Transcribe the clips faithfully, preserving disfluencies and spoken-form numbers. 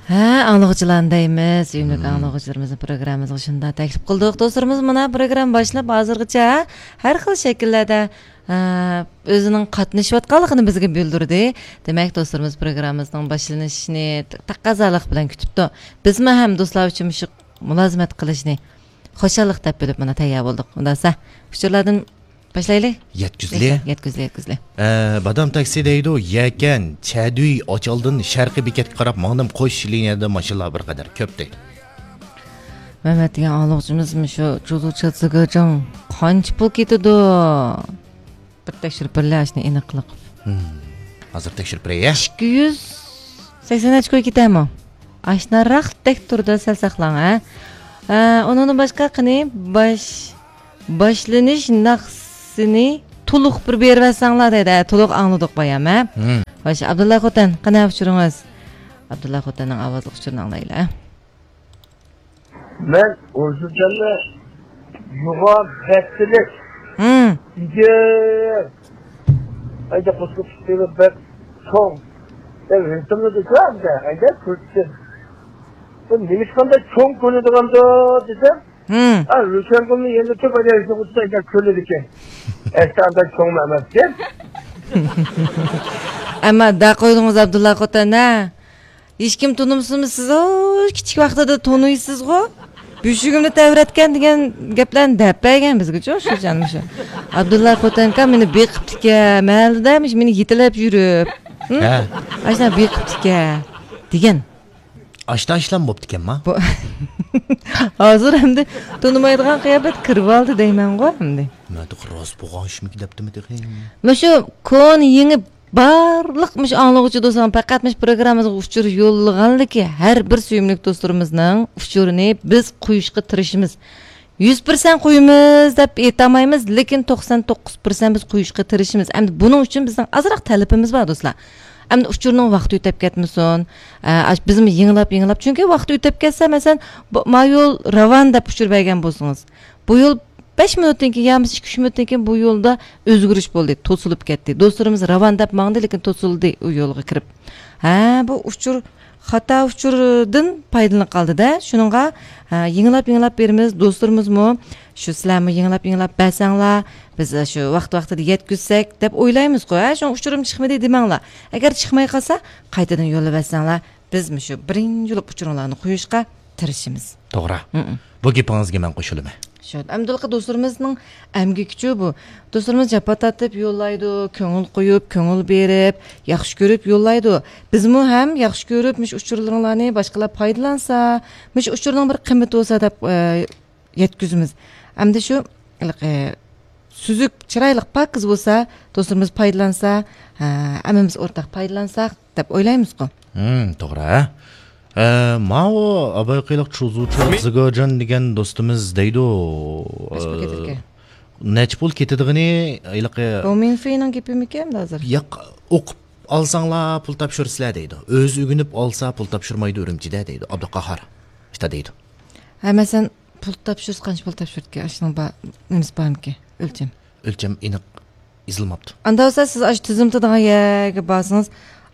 ھە، ئاڭلىغۇچىلارنى دەيمىز. سۆيۈملۈك ئاڭلىغۇچىلىرىمىزنى پروگراممىمىزغا شۇنداق تەكلىپ قىلدۇق. دوستلىرىمىز مانا پروگرامما باشلاپ ھازىرغىچە ھەر خىل شەكىللەردە، ئە، ئۆزىنىڭ قاتنىشىۋاتقانلىقىنى بىزگە بىلدۈردى. دېمەك، دوستلىرىمىز پروگراممىمىزنىڭ باشلىنىشىنى تەقەززالىق بىلەن كۈتۈپتۇ. بىزمۇ ھەم دوستلار ئۈچۈن مۇشۇ مۇلازىمەت قىلىشنى خۇشاللىق دەپ بىلىپ، مانا تەييار بولدۇق. ئۇنداقسا، ئۇچۇرلاردىن باشلايلى. يەتكۈزلى. يەتكۈزلى، يەتكۈزلى. ئە، بادام تاكسى دەيدۇ، يەكەن، چەدۈي، ئاچالدىن شەرقىي بېكەتكە قاراپ ماڭدىم، قوش لىنىيەدە ماشىنىلار بىر قەدەر كۆپ دەيدۇ. مەمەت دېگەن ئاڭلىغۇچىمىز مۇشۇ جۇزۇچا زىگېجىڭ قانچە پۇل كېتىدۇ؟ بىر تەكشۈرۈپ بېرىلە، ئاشۇنى ئېنىقلىق. ھازىر تەكشۈرۈپ بېرەي، يە؟ ئىككى يۈز سەكسەن ئەچكو كېتەرمۇ؟ ئاشناراقتەك تۇرىدۇ، سەل ساقلاڭ، ھە؟ ئە، ئۇنىڭدىن باشقا قېنى باش-، باشلىنىش ناخشىسىنى تولۇق بىر بېرىۋەتسەڭلار دەيدۇ. ھە، تولۇق ئاڭلىدۇق بايام، ھە؟ ھىم. خوش، ئابدۇللا خوتەن، قېنى ئۇچۇرىڭىز؟ ئابدۇللا خوتەننىڭ ئاۋازلىق ئۇچۇرىنى ئاڭلايلى، ھە؟ مەن ئۇزۇنجاننى يوغان بەتتىلىك ھىم. ئىگە. ئەيدە قوشۇپ چىقىپ بەك چوڭ. دەپ رىتىمنى دېسەم، ئەيدە كۆرسىتىپ. بۇ نېمىشقانداق چوڭ كۆرۈنىدىغاندۇ دېسەم، ھىم. ئا، روشەنگۈلنى يەنە تۆپ ئايلانسا ئۇچسا ئەيدە كۆرۈنىدىكەن. ئەسلى ئانداق چوڭمۇ ئەمەسكەن. ئەمما دە قويدىڭىز ئابدۇللا خوتەن، ھە؟ ھېچكىم تونۇمسىمۇ سىز، ئو، كىچىك ۋاقتىدا تونۇيسىزغۇ. بۆشۈكۈمنى تەۋرەتكەن دېگەن گەپلەرنى دەپ بەرگەن بىزگىچۇ شۇ جان مۇشۇ. ئابدۇللا خوتەنكا مېنى بېقىپتىكەن، مەھەللىدە مۇشۇ مېنى يېتىلەپ يۈرۈپ. ھە؟ ئاشۇنداق بېقىپتىكەن دېگەن. ئاشتا ئىشلام بوپتىكەنما؟ بۇ-، ھازىر ئەمدى تونۇمايدىغان قىياپەت كىرىۋالدى دەيمەنغۇ ئەمدى. مەن راست بولغان ئىشمىكى دەپتىمۇ تېخى. مۇشۇ كونا يېڭى بارلىق مۇشۇ ئاڭلىغۇچى دوستلار پەقەت مۇشۇ پروگراممىمىزغا ئۇچۇر يوللىغانلىكى ھەر بىر سۆيۈملۈك دوستلىرىمىزنىڭ ئۇچۇرىنى بىز قويۇشقا تىرىشىمىز. يۈز پىرسەنت قويىمىز دەپ ئېيتالمايمىز، لېكىن توقسان توققۇز پىرسەنت بىز قويۇشقا تىرىشىمىز. ئەمدى بۇنىڭ ئۈچۈن بىزنىڭ ئازراق تەلىپىمىز بار دوستلار. ئەمدى ئۇچۇرنىڭ ۋاقتى ئۆتەپ كەتمىسۇن. ئە، ئاش-، بىزمۇ يېڭىلاپ، يېڭىلاپ. چۈنكى ۋاقتى ئۆتەپ كەتسە، مەسىلەن، بۇ، ما يول راۋان دەپ ئۇچۇر بەرگەن بولسىڭىز، بۇ يول بەش مىنۇتتىن كېيىن يا بولمىسا ئىككى، ئۈچ مىنۇتتىن كېيىن بۇ يولدا ئۆزگىرىش بولدى، توسۇلۇپ كەتتى. دوستلىرىمىز راۋان دەپ ماڭدى، لېكىن توسۇلدى ئۇ يولغا كىرىپ. ھە، بۇ ئۇچۇر خاتا ئۇچۇردىن پايدىلىنىپ قالدى-دە. شۇنىڭغا، ھە، يېڭىلاپ، يېڭىلاپ بېرىمىز. دوستلىرىمىزمۇ شۇ سىلەرمۇ يېڭىلاپ، يېڭىلاپ بەرسەڭلار، بىز شۇ ۋاقتى ۋاقتىدا يەتكۈزسەك دەپ ئويلايمىزغۇ، ھە؟ شۇڭا ئۇچۇرۇم چىقمىدى دېمەڭلار. ئەگەر چىقماي قالسا، قايتىدىن يوللىۋەتسەڭلار، بىز مۇشۇ بىرىنچى بولۇپ ئۇچۇرۇڭلارنى قويۇشقا تىرىشىمىز. توغرا. ھمم. بۇ گېپىڭىزگە مەن قوشۇلىمەن. شۇ، ئەمدىلىقى دوستلىرىمىزنىڭ ئەمگىكىچۇ بۇ. دوستلىرىمىز جاپا تارتىپ يوللايدۇ، كۆڭۈل قويۇپ، كۆڭۈل بېرىپ، ياخشى كۆرۈپ يوللايدۇ. بىزمۇ ھەم ياخشى كۆرۈپ مۇشۇ ئۇچۇرلىرىڭلارنى باشقىلار پايدىلانسا، مۇشۇ ئۇچۇرنىڭ بىر قىممىتى بولسا دەپ، ئە، يەتكۈزىمىز. ئەمدى شۇ، ھېلىقى، سۈزۈك، چىرايلىق، پاكىز بولسا، دوستلىرىمىز پايدىلانسا، ھە، ھەممىمىز ئورتاق پايدىلانساق دەپ ئويلايمىزغۇ. ھىم، توغرا. ئە، ماۋۇ ئابايقىلىق چۇزۇچۇ زىگاجان دېگەن دوستىمىز دەيدۇ. قاچ پۇل كېتىدىكەن؟ نەچچە پۇل كېتىدىغىنى ھېلىقى. بۇ مىنفېينىڭ گېپىمىكەن ھازىر؟ ياق، ئوقۇپ ئالساڭلار پۇل تاپشۇرىسىلەر دەيدۇ. ئۆزى ئۆگىنىپ ئالسا پۇل تاپشۇرمايدۇ ئۈرۈمچىدە دەيدۇ. ئابدۇقاھار شۇنداق دەيدۇ. ھە، مەسىلەن، پۇل تاپشۇرسا قانچە پۇل تاپشۇرىدىكەن؟ ئاشۇنىڭ بار، نېمىسى بارمىكىن؟ ئۆلچەم. ئۆلچەم ئېنىق يېزىلماپتۇ. ئاندا بولسا سىز ئاشۇ تىزىملىتىدىغان يەرگە بارسىڭىز،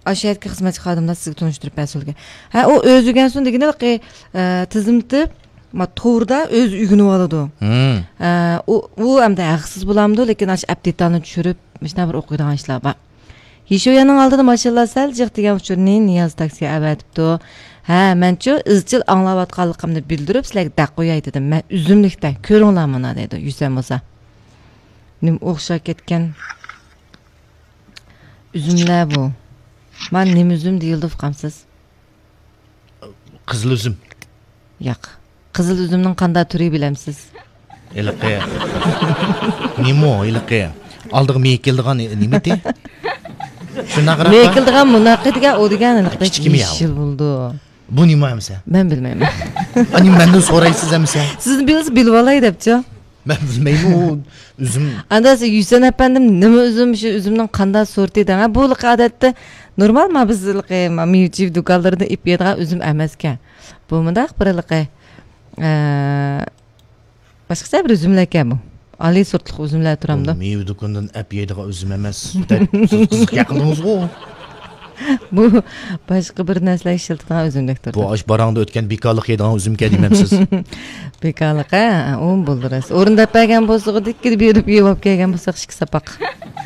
ئاشۇ يەردىكى خىزمەتچى خادىملار سىزگە تونۇشتۇرۇپ بەرسە بولىدىكەن. ھە، ئۇ ئۆزى ئۆگەنسۇن دېگىنى، ئە، تىزىملىتىپ، ما، توردا ئۆزى ئۆگىنىپ ئالىدۇ. ھىم. ئە، ئۇ، ئۇ ئەمدى ھەقسىز بولامدۇ، لېكىن ئاشۇ ئەپ دېتالنى چۈشۈرۈپ، مۇشۇنداق بىر ئوقۇيدىغان ئىشلار بار. يېشويانىڭ ئالدىدا ماشىنىلار سەل جىق دېگەن ئۇچۇرنى نىياز تاكسىغا ئەۋەتىپتۇ. ھە، مەنچۇ ئىزچىل ئاڭلاۋاتقانلىقىمنى بىلدۈرۈپ سىلەرگە دەق قوياي دېدىم. مەن ئۈزۈملۈكتە، كۆرۈڭلار مانا دەيدۇ يۈسەن بولسا. نېمە ئوخشاپ كەتكەن ئۈزۈملەر بۇ. مانا نېمە ئۈزۈم دېيىلىدۇ ئۇقامسىز؟ قىزىل ئۈزۈم. ياق. قىزىل ئۈزۈمنىڭ قانداق تۈرى بىلەمسىز؟ ھېلىقى. نېمە ئۇ ھېلىقى؟ ئالدىغا مېيىك كېلىدىغان نېمىتى؟ شۇنداقراق. مېيىك كېلىدىغان مۇناقى دېگەن ئۇ دېگەن ھېلىقى كىچىككىمۇ يا ئۇ؟ يېشىل بولىدۇ. بۇ نېمە ئەمىسە؟ مەن بىلمەيمەن. ئانى مەندىن سورايسىز ئەمىسە؟ سىزنى بىلسە بىلىۋالاي دەپچۇ. مەن بىلمەيمەن ئۇ ئۈزۈم. ئاندا سىز يۈسەن ئەپەندىم نېمە ئۈزۈم، شۇ ئۈزۈمنىڭ قانداق سورتى دەڭ. بۇ ھېلىقى ئادەتتە نورمال ما بىز ھېلىقى ما مېۋە-چېۋە دۇكانلىرىدا ئېلىپ يەيدىغان ئۈزۈم ئەمەسكەن. بۇ مۇنداق بىر ھېلىقى، ئە، باشقىچە بىر ئۈزۈملەركەن بۇ. ئالىي سورتلۇق ئۈزۈملەر تۇرامدۇ؟ بۇ مېۋە دۇكىنىدىن ئەپ يەيدىغان ئۈزۈم ئەمەس. دەپ سىز قىزىق گەپ قىلدىڭىزغۇ. بۇ باشقا بىر نەرسىلەر ئىشلىتىدىغان ئۈزۈمدەك بۇ تۇرىدۇ. ئاش باراڭدا ئۆتكەن بىكارلىق يەيدىغان ئۈزۈمكەن دېمەمسىز؟ بىكارلىق، ھە، ئۇمۇ بولدى راست. ئورۇنداپ بەرگەن بولسىغۇ، دىككىدە بېرىپ يەپ كەلگەن بولساق ئىككى ساپاق.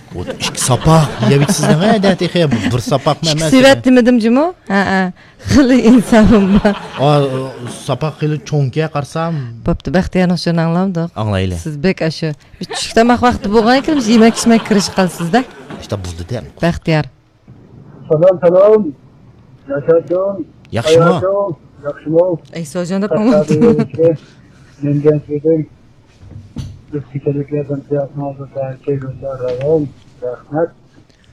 ئۇ ئىككى ساپاق يەۋېتىسىز دەڭە، دە، تېخى بىر ساپاقمۇ ئىككى ئەمەس سېۋەت دېمىدىمجۇمۇ؟ ھە، ھە. خېلى ئىنسابىم بار. ئا، ساپاق خېلى چوڭكەن قارىسام. بوپتۇ، بەختىيارنىڭ شۇنى ئاڭلامدۇق؟ ئاڭلايلى. سىز بەك ئاشۇ چۈشلۈك تاماق ۋاقتى بولغان ئىكەن، يېمەك ئىچمەك كىرىشىپ قالىسىز-دە. ئىشتا بولدى دە. بەختىيار. سالام، سالام. ياشاچۇڭ. ياخشىمۇ؟ ھاياتىڭ ياخشىمۇ؟ ئەي، سوجان دەپ قالماپتۇ. نەنجەنسىدىن بىز كېچىلىكلەردىن قىياسىڭىزدا كەلگۈچىلەر راۋان. رەھمەت.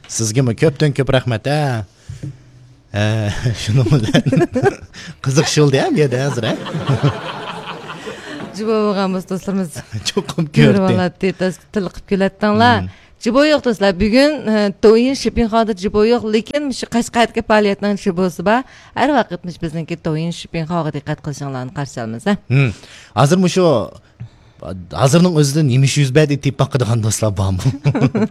سىزگىمۇ كۆپتىن كۆپ رەھمەت، ھە. ھە، شۇنىڭ بىلەن قىزىقىش بولدى، ھە، بۇ يەردە ھازىر، ھە. جۇبا بولغان بولسا دوستلىرىمىز. چوقۇم كۆردى. كۆرۈۋالاتتى، تاس-، تىلقىپ كۈلەتتىڭلار. مم. جىبو يوق دوستلار، بۈگۈن، ئە، دويىن شىپىڭ خادا جىبو يوق، لېكىن مۇشۇ قەشقەردىكى پائالىيەتنىڭ جىبوسى بار. ھەر ۋاقىت مۇشۇ بىزنىڭكى دويىن شىپىڭ خاغا دىققەت قىلىشىڭلارنى قارشى ئالىمىز، ھە. ھىم. ھازىر مۇشۇ، ھازىرنىڭ ئۆزىدە نېمە ئىش يۈز بەردى دەپ باقىدىغان دوستلار بارمۇ؟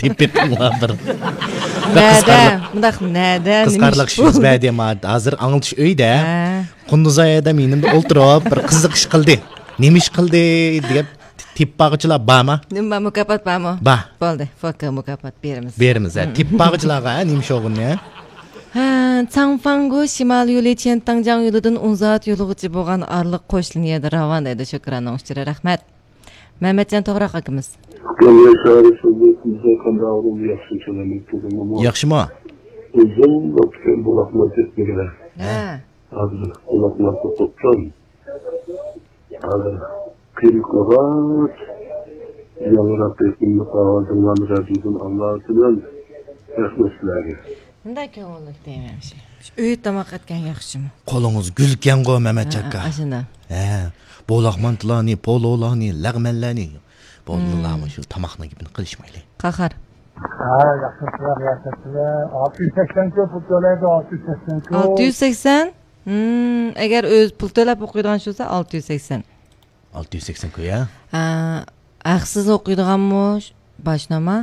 دەپ بېقىڭلار بىر. بىر نەدە؟ قىزىقارلىق، مۇنداق نەدە؟ نېمە قىزىقارلىق ئىش ئىش يۈز بولدى؟ بەردى، ما-، ھازىر ئاڭلىتىش ئۆيدە. ھە. قۇندۇزئاي ھەدەم يېنىمدا ئولتۇرۇپ، بىر قىزىق ئىش قىلدى. نېمە ئىش قىلدى دېگەن تېپىپ بارغۇچىلار بارمۇ؟ نېمە بار، مۇكاپات بارمۇ؟ بار. بولدى، فوكا مۇكاپات بېرىمىز. بېرىمىز، ھە. مم. تېپىپ بارغۇچىلارغا، ھە، نېمە ئىش بولغىنىنى، ھە؟ ھە، چاڭفاڭگو شىمال يولى چيەنتاڭجياڭ يولىدىن ئون سائەت يولىغىچە بولغان ئارىلىق قوش لىنىيەدە راۋان دەيدۇ، شۆكۈراننىڭ ئۇچۇرى، رەھمەت. مەمەتجان توغراق ئاكىمىز. ياخشىمۇ؟ ئۇزۇن ۋاقىت بۇلاقماي كەتمىگىلى. ھە. ھازىر بۇلاقلاردا توختام. ھازىر قىينىقىغاچ، ياڭراق رىتىملىق ئاۋازىڭلارنى رادىيودىن ئاڭلاۋاتىمەن. رەھمەت سىلەرگە. مۇنداق كۆڭۈللۈك دەيمەن شۇ. شۇ ئۆيدە تاماق ئەتكەن ياخشىمۇ؟ قولىڭىز گۈلكەنغۇ، مەمەتجان ئاكا. ھە، ئاشۇنداق. ھە، بولاق مانتىلارنى، پولۇلارنى، لەغمەنلەرنى. بولدىلارمۇ، شۇ تاماقنىڭ گېپىنى قىلىشمايلى. قاھار. ھە، ياخشى، سىلەر، ياخشى، سىلەر. ئالتە يۈز سەكسەن كۆپ پۇل تۆلەيدۇ، ئالتە يۈز سەكسەن كۆپ. ئالتە يۈز سەكسەن؟ ھىم، ئەگەر ئۆزى پۇل تۆلەپ ئوقۇيدىغان چۈشۈرسە، ئالتە يۈز سەكسەن. ئالتە يۈز سەكسەن كويا؟ ھە، ھەقسىز ئوقۇيدىغانمۇ باشناما؟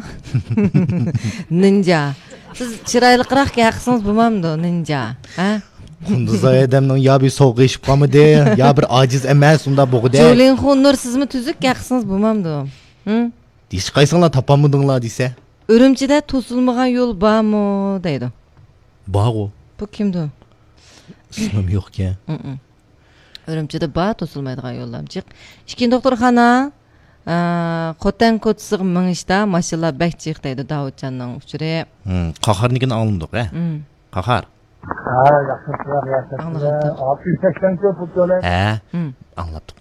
نىنجا. سىز چىرايلىقراق ھەقسىڭىز بولمامدۇ، نىنجا؟ ھە؟ قۇندۇزاي ھەدەمنىڭ يا بىر سوغۇقى ئېشىپ قالمىدى، يا بىر ئاجىز ئەمەس، ئۇنداق بوغۇدى. جۇلىنخۇ نۇر، سىزمۇ تۈزۈك ھەقسىڭىز بولمامدۇ؟ ھىم؟ ھېچقايسىڭلار تاپالمىدىڭلار دېسە. ئۈرۈمچىدە توسۇلمىغان يول بارمۇ دەيدۇ. بارغۇ. بۇ كىمدۇ؟ ئىسمىم يوقكەن. ئۇ-ئۇ. ئۈرۈمچىدە بار توسۇلمايدىغان يوللار جىق. ئىككىنچى دوختۇرخانا، ئە، خوتەن كوچىسىغا مېڭىشتا ماشىنىلار بەك جىق دەيدۇ داۋۇتجاننىڭ ئۇچۇرى. ھىم، قاھارنىڭكىنى ئاڭلىمىدۇق، ھە؟ ھىم. قاھار. ھە، ياخشى، سىلەر، ياخشى. ئاڭلىغانتىم. ئالتە يۈز سەكسەن كۆپ پۇل تۆلەيدۇ. ھە، ھىم. ئاڭلاپتۇق.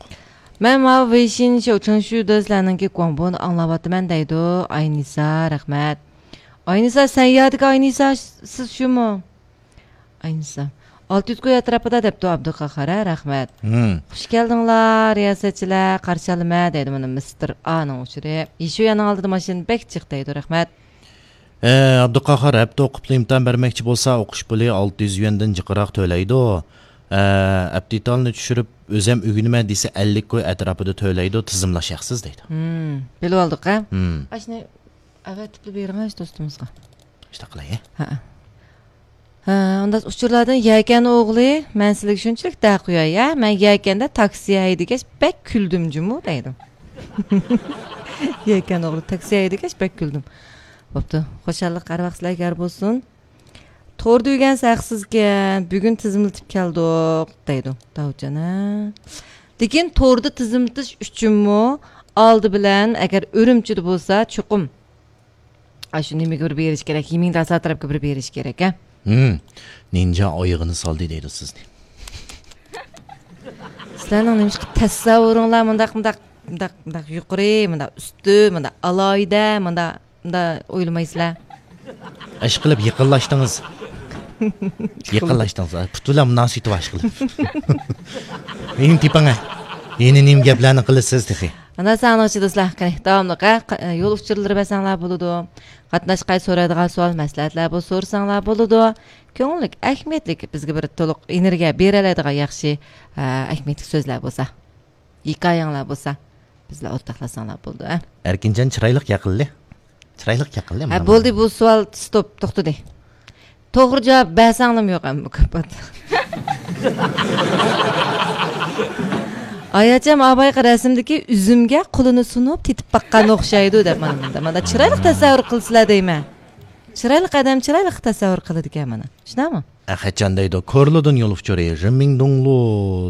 مەن ماۋۇ ۋېيشىن شياۋچېڭشۈدە سىلەرنىڭكى گۇاڭبونى ئاڭلاۋاتىمەن دەيدۇ ئاينىسا، رەھمەت. ئاينىسا، سەن يادىكى ئاينىسا، سىز شۇمۇ؟ ئاينىسا. ئالتە يۈز كوي ئەتراپىدا دەپتۇ ئابدۇقاھار، ھە، رەھمەت. ھىم. خۇش كەلدىڭلار، رىياسەتچىلەر، قارشى ئالىمەن دەيدۇ مانا مىستېر ئانىڭ ئۇچۇرى. يىشۇياننىڭ ئالدىدا ماشىنا بەك جىق دەيدۇ، رەھمەت. ئە، ئابدۇقاھار، ھەپتە ئوقۇپلا ئىمتىھان بەرمەكچى بولسا، ئوقۇش پۇلى ئالتە يۈز يۈەندىن جىقراق تۆلەيدۇ. ئە، ئەپتىتالنى چۈشۈرۈپ، ئۆزەم ئۆگىنىمەن دېسە، ئەللىك كوي ئەتراپىدا تۆلەيدۇ، تىزىملاش ھەقسىز دەيدۇ. ھىم، بىلىۋالدۇق، ھە؟ ھىم. ئاشۇنى ئەۋەتىپلا بېرىڭە دوستىمىزغا. شۇنداق قىلاي، ھە؟ ھە. ھە، ئۇنداق ئۇچۇرلاردىن يەكەن ئوغلى، مەن سىلىگە شۇنچىلىك دەق قوياي، ھە؟ مەن يەكەندە تاكسى ھەيدىگەچ بەك كۈلدۈم جۇمۇ دەيدۇ. يەكەن ئوغلى تاكسى ھەيدىگەچ بەك كۈلدۈم. بوپتۇ. خۇشاللىق ھەر ۋاقىت سىلەرگە يار بولسۇن. توردا ئۆگەنسە ھەقسىزكەن، بۈگۈن تىزىملىتىپ كەلدۇق دەيدۇ داۋۇتجان، ھە. لېكىن توردا تىزىملىتىش ئۈچۈنمۇ ئالدى بىلەن ئەگەر ئۈرۈمچىدە بولسا چوقۇم ئاشۇ نېمىگە بىر بېرىش كېرەك، يىمىڭداسا تەرەپكە بىر بېرىش كېرەك، ھە؟ ھىم. نىنجا ئايىغىنى سالدى دەيدۇ سىزنى. سىلەرنىڭ نېمىشقا تەسەۋۋۇرۇڭلار مۇنداق، مۇنداق، مۇنداق، مۇنداق يۇقىرى، مۇنداق ئۈستۈن، مۇنداق ئالاھىدە، مۇنداق، مۇنداق ئويلىمايسىلەر؟ ئىشقىلىپ يېقىنلاشتىڭىز. يېقىنلاشتىڭىز. پۇت بىلەن مۇناسىۋىتى بار ئىشقىلىپ. نېمە تېپىڭە. يەنە نېمە گەپلەرنى قىلىسىز تېخى؟ ئانا سانىڭچى دوستلار، قېنى، داۋاملىق، ھە، ق-، يول ئۇچۇرلىرى بەرسەڭلار بولىدۇ. قاتناشقاي سورايدىغان سوئال، مەسلىھەتلەر بولسا سورىساڭلار بولىدۇ. كۆڭۈللۈك، ئەھمىيەتلىك، بىزگە بىر تولۇق ئېنېرگىيە بېرەلەيدىغان ياخشى، ھە، ئەھمىيەتلىك سۆزلەر بولسا، ھېكايەڭلار بولسا، بىز بىلەن ئورتاقلاشساڭلار بولىدۇ، ھە. ئەركىنجان چىرايلىق ياقىلدى. چىرايلىق ياقىلدى، ھە، مانا بولدى، بۇ سوئال ستوپ، توختىدى. توغرا جاۋاب بەرسەڭلىمۇ يوق، ئەمما مۇكاپات. ئاياچام ئابايقى رەسىمدىكى ئۈزۈمگە قولىنى سۇنۇپ تېتىپ باققان ئوخشايدۇ دەپ، مانا مۇندا. مانا چىرايلىق تەسەۋۋۇر قىلسىلا دەيمەن. چىرايلىق ئادەم چىرايلىق تەسەۋۋۇر قىلىدىكەن مانا. شۇنداقمۇ؟ ئە، قاچان دەيدۇ، كورلىدىن يول ئۇچۇرى، رىمىڭدۇڭلۇ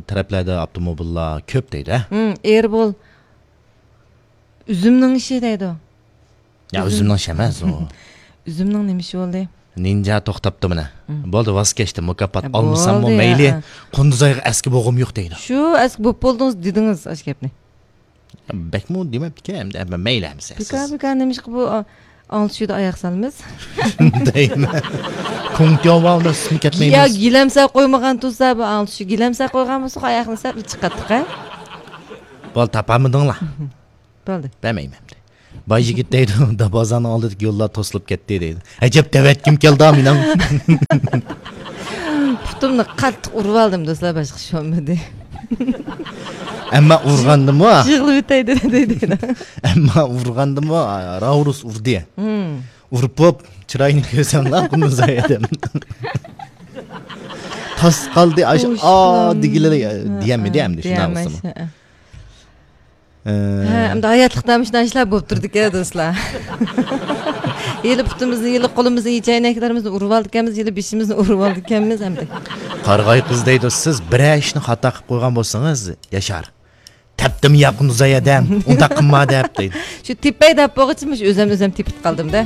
تەرەپلەردە ئاپتوموبىللار كۆپ دەيدۇ، ھە؟ ھىم، ئېرى بول. ئۈزۈمنىڭ ئىشى دەيدۇ. يا، ئۈزۈم. ئۈزۈمنىڭ ئىشى ئەمەس ئۇ. ئۈزۈمنىڭ نېمە ئىشى بولدى؟ نىنجا توختاپتۇ مانا. ھىم. بولدى، ۋاز كەچتىم، مۇكاپات ھە، ئالمىساممۇ بولدى، مەيلى. ھە، ھە. قۇندۇزايغا ئەسكى بولغۇم يوق دەيدۇ. شۇ ئەسكى بوپ بولدىڭىز دېدىڭىز ئاشۇ گەپنى. بەكمۇ دېمەپتىكەن، ئەمدى، ئەمما مەيلى ئەمىسە. بىكار، سىز بىكار نېمىشقا بۇ، ئا، ئاڭلىتىشىدا ئاياق سالىمىز؟ دەيمەن. كۇڭتياۋاۋدا سىزمۇ يا كەتمەيمىز. گىلەمسە قويمىغان تۇرسا، بۇ ئاڭلىتىشى گىلەمسە قويغان بولسا، ئاياقنى سەل چىقاتتىق، ھە؟ بولدى، تاپالمىدىڭلار. بولدى. بەرمەيمەن ئەمدى. باي يىگىت دەيدۇ، دابازانىڭ ئالدىدىكى يوللار توسۇلۇپ كەتتى دەيدۇ. ئەجەب دەۋەتكۈم كەلدى مېنىڭ. پۇتۇمنى قاتتىق ئۇرۇۋالدىم دوستلار، باشقا ئىش بولمىدى. ئەمما ئۇرغاندىمۇ، يىغلىۋېتەي دېدى. ئەمما ئۇرغاندىمۇ، راۋرۇس ئۇردى. ھىم. ئۇرۇپ بوپ، چىرايىنى كۆرسەڭلار، قۇندۇزاي ئادەم. تاس قالدى، ئاش، ئا، دېگىلى، دېيەلمىدى ئەمدى، شۇنداق بولسىمۇ. ھە، ئەمدى ھاياتلىقتا مۇشۇنداق ئىشلار بولۇپ تۇرىدىكەن، دوستلار. ھېلى پۇتىمىزنى، ھېلى قولىمىزنى، ھېلى چەينەكلىرىمىزنى ئۇرۇۋالىدىكەنمىز، ھېلى بېشىمىزنى ئۇرۇۋالىدىكەنمىز ئەمدى. قارىغاي قىز دەيدۇ، سىز بىرەر ئىشنى خاتا قىلىپ قويغان بولسىڭىز، ياشار، تەپتىم ياقۇن زايەدەم، ئۇنداق قىلما دەپ دەيدۇ. شۇ تېپەي دەپ بولغۇچە مۇشۇ ئۆزۈم ئۆزۈم تېپىپ قالدىم-دە.